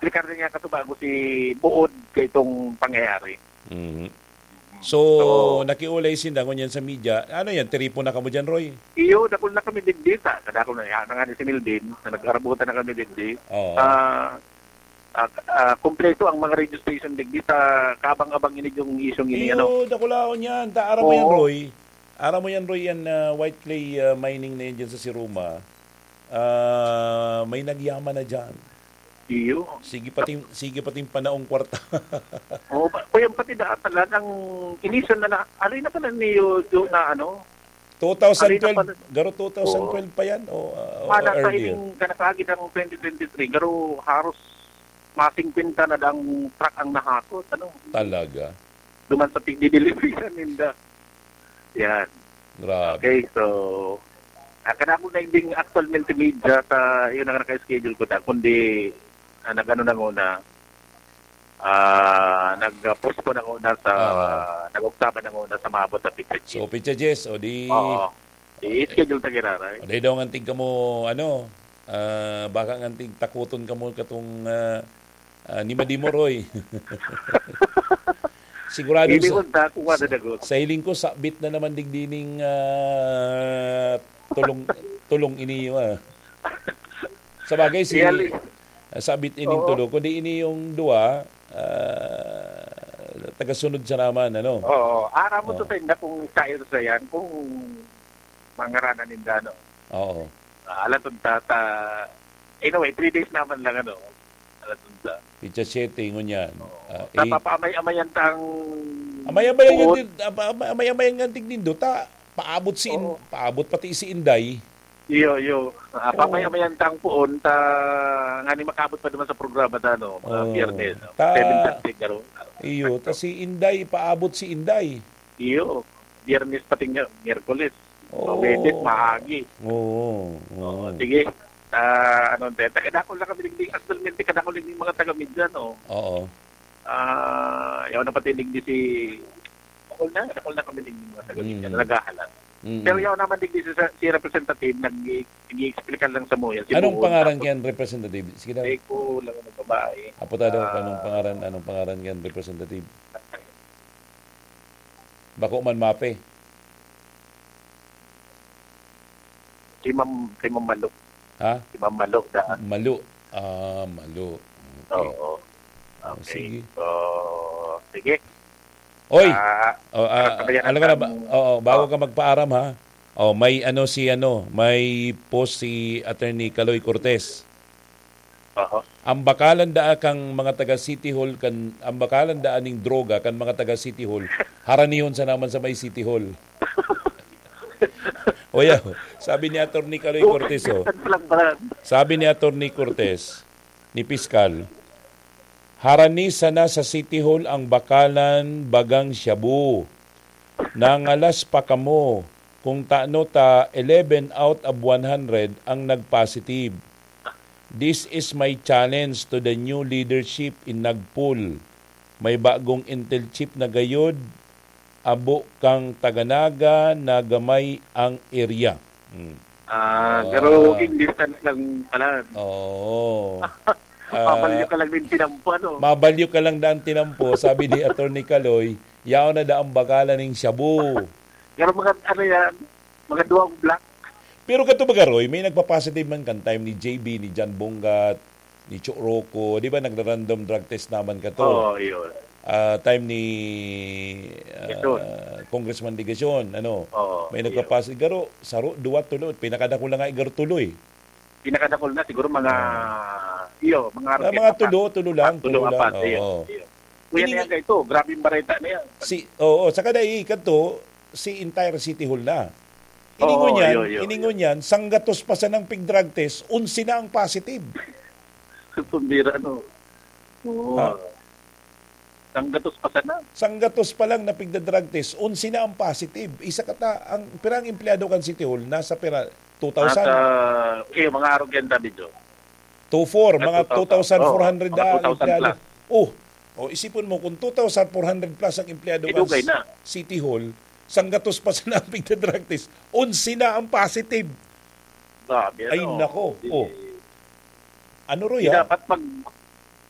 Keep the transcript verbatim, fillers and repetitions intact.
Ricardo niya katubago si buod kay itong pangyayari. Mhm. So, So, nakiulay sinda ngunyan sa media. Ano yan? Tiripon na kamo dyan, Roy? Iyo, dakul na kami digdi sa, kadakul na, yan na nga ni si Mildin, na nag-arabutan na kami digdi. Oo. Ah, ah, ah, kompleto ang mga radio station digdi sa kabang-abang ini yung isyong ini, ano? Iyo, dakulaon yan. Ta, aram mo yan, Oo. Roy. Aram mo yan, Roy, yan, ah, white clay, ah, mining na yan dyan sa Siruma. Ah, may nagyaman na dyan. Iyo. Sige pating, sige pating panaong kwarta. Oo, pa, kuya, pati da, talagang inisan na na, alin na pala niyo, do, na ano? Alin na two thousand twelve, pala? Garo two thousand twelve Oo. pa yan, o, ah, o, Mana sa earlier? Ining kanakagi ng twenty twenty-three, garo haros masingkwenta na dang truck ang nahakot, ano? Talaga? Duman sa pigdidelivery ninda. Yan. Grabe. Okay, so, ah, kadakul na ding actual multimedia sa, yun ang naka-schedule ko na, kundi, ah, nag-ano na muna, ah, nag-postpone na muna sa, Oo. nag-oktaba na muna sa maabot sa pizza So, cheese. Pizza Jess, o di Oo. I-schedule ta giraray. O di daw ngantig kamo, ano, ah, baka ngantig takuton kamo katong, ah, ah, ni Madimoroy. Sigurado Hindi sa, mo ta kung ano sa, dagot. sa hiling ko, sabit na naman digdining, ah, tulong, tulong ini, ah. Sa bagay, si, Iyali. ah, sabit ining Oo. tulo, kundi ini yung duwa, ah, tagasunod siya naman, ano? Oo. Aram mo Oo. to sa inda kung sa sa yan, kung mangaranan ninda, no? Oo. Ah, alatod ta, ta, anyway, three days naman lang, ano? Alatod ta. Pizza setting, ngunyan. Oo. Ah, Sa eight. papaamay-amayan tang Amay-amay ang Oo. tig-, apa-, amay-amay ang tig nindo, ta, paabot si In-, Oo. paabot pati si Inday. Iyo, iyo. Ah, Oo. papaamay-amayan tang puon, ta, ngani makabot pa naman sa programa ta, no? Mga Oo. Biyernes, no? Ta-, Seven thirty, garo. Iyo, ta si Inday, paabot si Inday. Iyo. Biyernes pati nga, Miyerkules. Oo. Huwebes, maagi. Oo, Oo, oo. sige. Ah, ano, te, taga-dakol na kami digdi. Actualmente, kadakol digdi mga taga-media, no? Oo. Ah, yaw na pati digdi si, dakol na, dakol na kami digdi mga taga-media Mm. na naghahalat. Mm. Pero yaw naman digdi si, si representative, nag-, nag-i-explica lang sa muya, si Anong Buon, pangaran tapos kyan, representative? Sige daw. Ay, ko lang ang babae. Apo ta daw, Ah. anong pangaran, anong pangaran kyan, representative? Bako man mape. Si Ma'am, si Ma'am Malo. Ha? Si Ma'am Malo, da. Malo. Ah, Malo. Okay. Oo. Oh, Okay. sige. So, sige. Oy! Ah, Oh, ah, sabayan alam ko na ba? natin. Oo, bago Oh. ka magpaaram, ha? Oh, may ano si ano, may post si Attorney Kaloy Cortez. Aha. Ang bakalan daa kan mga taga City Hall, kan, ang bakalan daa ning droga kan mga taga City Hall, haranihon sa naman sa may City Hall. O yaw, sabi ni Attorney Kaloy Cortez, oh. Minsan pa lang pala. Sabi ni Attorney Cortez, ni Piskal, "Harani sana sa City Hall ang bakalan bagang shabu. Nangalas pa kamo kung tano ta eleven out of one hundred ang nag-positive. This is my challenge to the new leadership in Nagpul. May bagong Intel chief na gayod, abo kang taga Naga na gamay ang area." Hmm. Ah, Ah. garo walking distance lang pala. Oo. Ah, Mabalyo ka lang din tinampo, ano? mabalyo ka lang daan tinampo, sabi ni Attorney Kaloy, yaon na daang bagalan ning shabu. Pero mga, ano yan, mga duwang block. Pero kato baga, Roy, may nagpa-positive man kan time ni J B, ni John Bongat, ni Cho Rocco, di ba, nagra-random drug test naman kato? Oo, yun. Ah, time ni, ah, Legacion. Congressman Legacion, ano, Oo, may yun. nagpa-positive. Garo, saro, duwa, tulo, pinakadakul na nga, igaro tuloy. Pinakadakul na, siguro mga, Ah. iyo, mga Ah, aroket mga apat. tulo, tulo lang, Ah, tulo, tulo lang, apat, iyo, oo. iyo. Kuya, Ini niya nga ito, grabe yung bareta na yan. Si, oo, saka dai, kadto, si entire City Hall na. Oo, Iningon yan, iyo, iyo, iningon iyo. yan, sanggatos pa sanang pig-drug test, onse na ang positive. Pambira, no? Oo. Ha? Sanggatos pa sana. Sanggatos pa lang na pigda-drug test, onse na ang positive. Isa ka ta, ang, pira ang empleyado kan City Hall? Nasa pira? Two thousand? Nasa, eh, mga arog yan, David, oh. Two four, Mga mga two thousand. two thousand four hundred Oo, mga na ang two thousand empleyado. plus. Oh, oh, isipon mo, kung two thousand four hundred plus ang empleyado kan Idugay s-, na. City Hall, sanggatos pa sana ang pigda-drug test, onse na ang positive. Grabe, Ay, ano? nako. Di, Oh. Ano, Roy, di ah? dapat mag-,